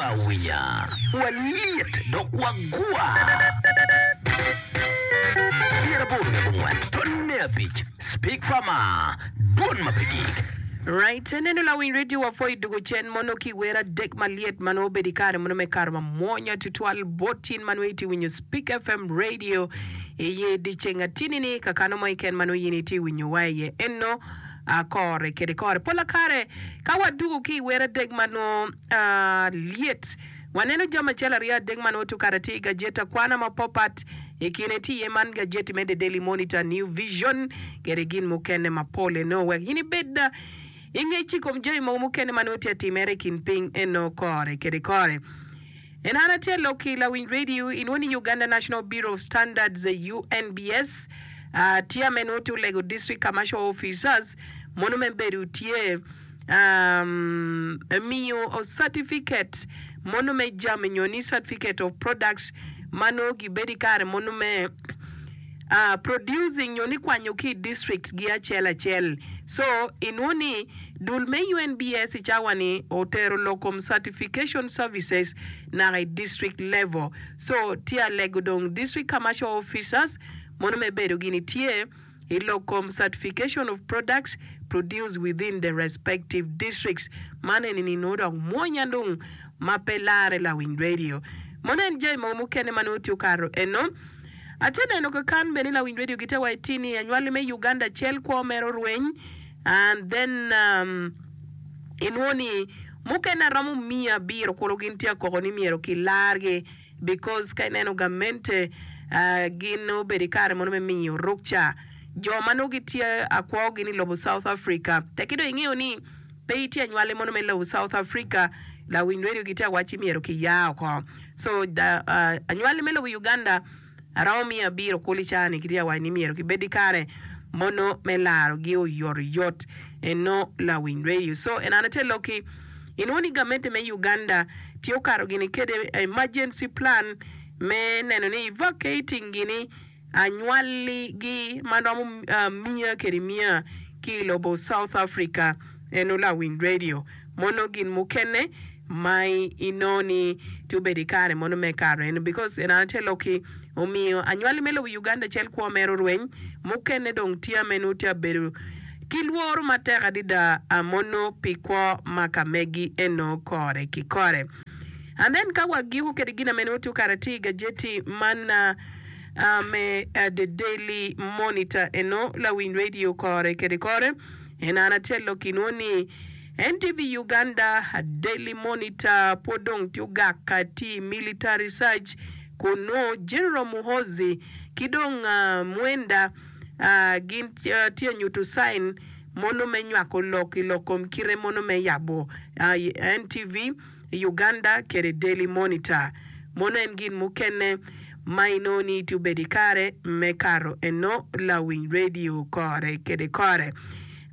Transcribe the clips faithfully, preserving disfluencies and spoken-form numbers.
Wawinya, walyet dok wagwa. Pyeraboro wiye abongwen tonne abic Speak Farmer, dwon ma pe gik. Right, neno lawiny radio wa pwoyo dugo cen mono ki wer adek malyet ma nongo obedo i kare mono me kato ma mwonya tutwal bot in ma nongo itye winyo Speak F M Radio iye dyeceng atini ni kakano mo keken ma nongo in itye winyo wa iye eno kore kede kore. Pola kare ka wadugo ki i wer adek ma nongo lyet, waneno jami acel aryo adek ma nongo tye okato tye i gajet akwana mapapat. I kine tye iye man gajeti me The Daily Monitor, New Vision kede gin mukene mapol eno wek in ibed i ngec i kom jami mogo mukene ma nongo tye atimere i kin piny eno kore kede kore. En an atye lok ki lawiny radio inwongo ni Uganda National Bureau of Standards, U N B S, tye ame nongo tye olego District Commercial Officers mono me bedo tye um, miyo certificate mono me jami nyo ni certificate of products ma nongo gibedo i kare mono me uh, producing nyo ni kwanyo ki i district gi acel acel. So inwongo ni dul me U N B S i cawa ni otero lok kom certification services naka i district level. So tye alego dong district commercial officers mono me bedo gini tye i lok kom certification of products produced within the respective districts. Man eni ni nongo dok mwonya dong ma pe lare lawiny radio mono en jami mogo mukene ma nongo tye okato eno. Atye neno kakan bene lawiny radio gite wa itini anywali me Uganda acel kwo mere orweny and then um, inwongo ni mukene aromo miya abiro kulu gin tye akoko ni myero kilargi because ka ineno gamente uh, gin obedo i kare mono me miyo rukca jo ma nongo gitye akwo gin i lobo South Africa. Tekki dong ingeo ni pe itye anywali mono me lobo South Africa, lawiny radio gitye awaci myero kiya oko. So da, uh, anywali me lobo Uganda aromo miya abiro kulu i caa-ni gitye awaci ni myero gibed i kare mono me larogi oyotoyot eno lawiny radio. So en an ate loki inwongo ni gamente me Uganda tye okato gini kede emergency plan me neno ni evacuating gini anywaligi ma romo uh, miya kede miya ki i lobo South Africa eno lawiny radio mono gin mukene ma inongo ni tye obedo i kare mono me kato eno because en an ate loki omiyo anywali me lobo Uganda acel kwo mere orweny mukene dong tye ame nongo tye abedo ki lworo matek adada mono pi kwo ma ka megi eno kore ki kore. And then ka wagiko kede gin ame nongo tye okato tye i gajeti man uh, uh, me uh, The Daily Monitor eno lawiny radio kore kede kore en an acel loki inwongo ni N T V Uganda, Daily Monitor pwod dong tye ogak tye military search kun nongo General Muhozi ki dong uh, Mwenda uh, gin uh, tye nyuto sign mono me nywako lok i lok kom kite mono me yabo uh, N T V Uganda kede Daily Monitor. Mono en gin mukene ma inongo ni tye obedo i kare me kato eno lawiny radio kore kede kore.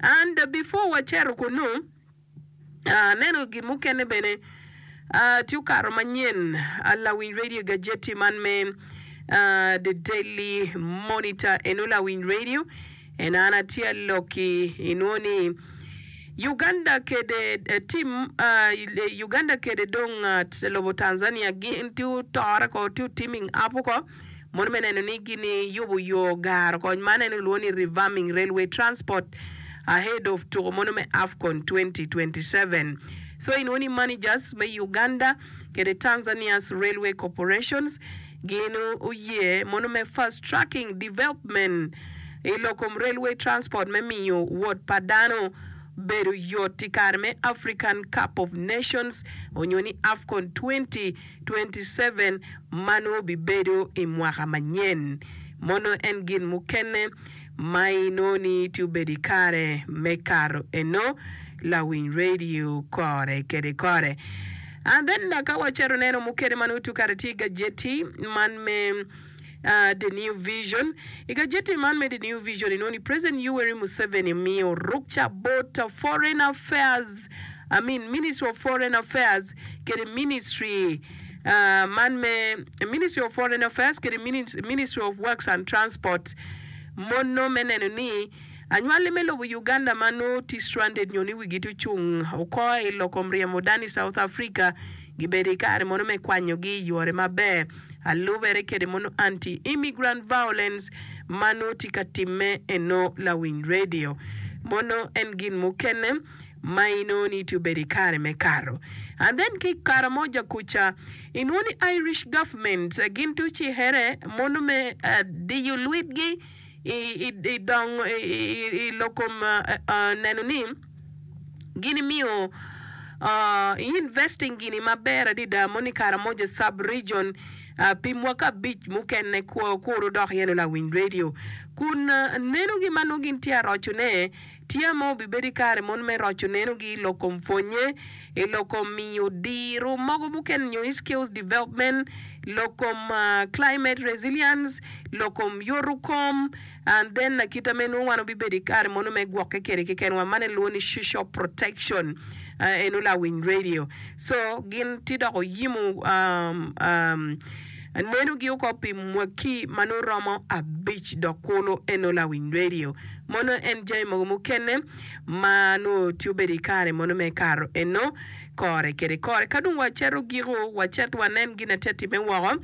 And uh, before wacito kunu, aneno gin mukene bene uh, tye okato manyen uh, lawiny radio gajeti man me uh, The Daily Monitor eno lawiny radio en an atye loki inwongo ni Uganda kede eh, team uh, Uganda kede dong uh, lobo Tanzania gin tye otore ko tye teaming up ko mono me neno ni gini yubo yo garo kony man en ilwongo ni revamping railway transport ahead of tuko mono me AFCON twenty twenty-seven. So inwongo ni managers me Uganda kede Tanzania's railway corporations gin oye mono me fast tracking development i lok kom railway transport me miyo wot pa dano bedo yot i kare me African Cup of Nations onyo ni AFCON twenty twenty-seven ma nongo bibedo i mwaka manyen. Mono en gin mukene ma inongo ni tye obedo i kare me kato eno lawiny radio kore kede kore. And then ka wacito neno mukene ma nongo tye okato tye i gajeti man me uh, The New Vision. I gajeti man me The New Vision inongo ni President Yoweri Museveni omiyo rukca bot Foreign Affairs, I mean Ministry of Foreign Affairs kede Ministry uh, man me Ministry of Foreign Affairs kede Ministry of Works and Transport mono me neno ni anywali me lobo Uganda ma nongo tye stranded nyo ni wigi tye ocung oko i lok kom ryemo dano i South Africa. Gibedo i kare mono me kwanyogi i yore maber. Alubere kede mono anti-immigrant violence ma nongo tye ka timme eno lawiny radio. Mono en gin mukene ma inongo ni tye obedo i kare me kato. And then ki i kare mo ja kuca inongo ni Irish government gin tye ocihere mono me diyo lwitgi i, i, i dongo i, i, i lok kom neno ni gin imiyo uh, investing gini maber adada mono i Karamoja sub region uh, pi mwaka abic mukene kuru dok yeno lawiny radio kun uh, nenogi ma nongo gin tye arocone tye ma obibedo i kare mono me roco nenogi i lok kom pwonye i lok kom miyo diro mogo mukene nyo ni skills development lok kom uh, climate resilience lok kom yoto kom and then kita me nongo wan obibedo i kare mono me gwokke kede keken wa man elwongo ni social protection uh, eno lawiny radio so gin tye dok oyimo um, um, nenogi oko pi mwaki ma nongo romo abic dok kulu eno lawiny radio mono en jami mogo mukene ma nongo tye obedo i kare mono me kato eno kore kede kore ka dong waceto giko wacet wanen gin atye time woko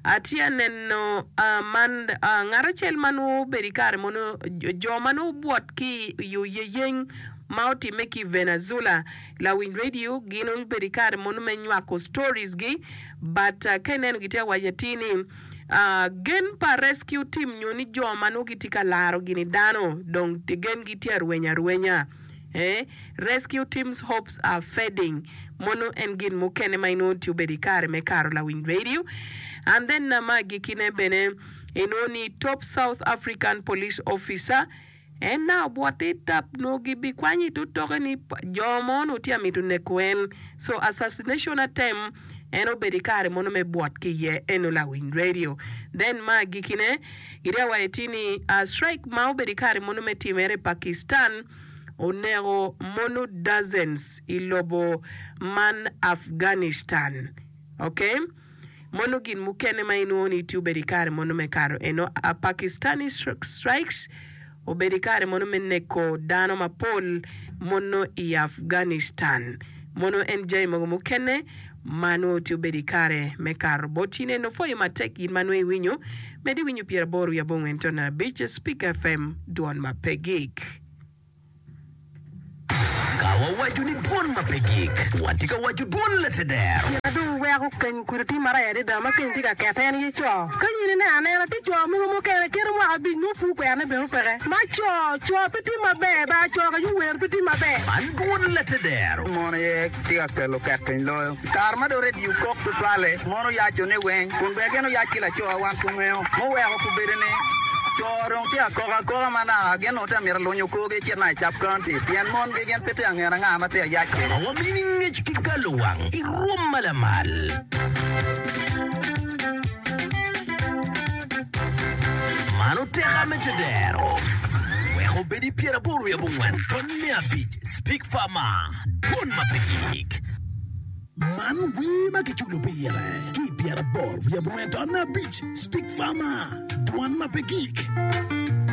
atye aneno uh, man uh, ngat acel ma nongo obedo i kare mono jo ma nongo obwot ki i oyeyeng ma otime ki Venezuela lawiny radio gin obedo i kare mono me nywako stories gi but uh, ka ineno gitye awaco atir ni uh, gen pa rescue team nyo ni jo ma nongo gitye ka laro gini dano dong gen gitye arwenya arwenya eh? Rescue teams hopes are fading mono en gin mukene ma inongo tye obedo i kare me karo lawiny radio and then uh, ma agikine bene inongo ni top South African police officer en na obwot tap no gibikwanyo itotoke ni jo mo onongo tye amito neko en so assassination attempt en obedo i kare mono me bwot ki iye eno lawiny radio then ma agikine gitye awaco ti ni uh, strike ma obedo i kare mono me timere i Pakistan oneko mono dozens i lobo man Afghanistan okay mono gin mukene ma inongo ni tye obedo i kare mono me kato eno a Pakistani strikes obedo i kare mono me neko dano mapol mono i Afghanistan mono en jami mogo mukene ma nongo tye obedo i kare me kato bot in eno pwoyo matek in ma nongo iwinyo medi winyo pyeraboro wiye abongwen ton abic Speak F M dwon ma pe gik. Ka wawaco ni dwon ma pe gik, watye ka waco dwon lateder. Dong weko keny kudi tye marac adada ma keny tye ka kete en ye co ka in ineno anena tye co mogo mukene kite mwaka abic nongo pur kwerone bene peke ma co co pe tye maber ba co ka wer pe tye maber. Man dwon lateder. Mono ye tye ka kelo ket piny loyo kare ma dong redio kok tutwale mono yaco ni weng kun bene gin oyac ki laco wan kungeo muweko kubedo ni co dong tye akoka akoka ma naka gin onongo tye amito lunyo korgi cit na i sub county pien mon gi gin pe tye angeno anga ma tye ayac kwede. Ma wamini ngec ki galo wang i rwom ma lamal. Man oteka me tedero. Wek obed i pyeraboro wiye abongwen ton me abic Speak Farmer dwon ma pe gik. Man wer ma kiculo pire ki pyeraboro wiye abongwen ton abic Speak Farmer dwon ma pe gik.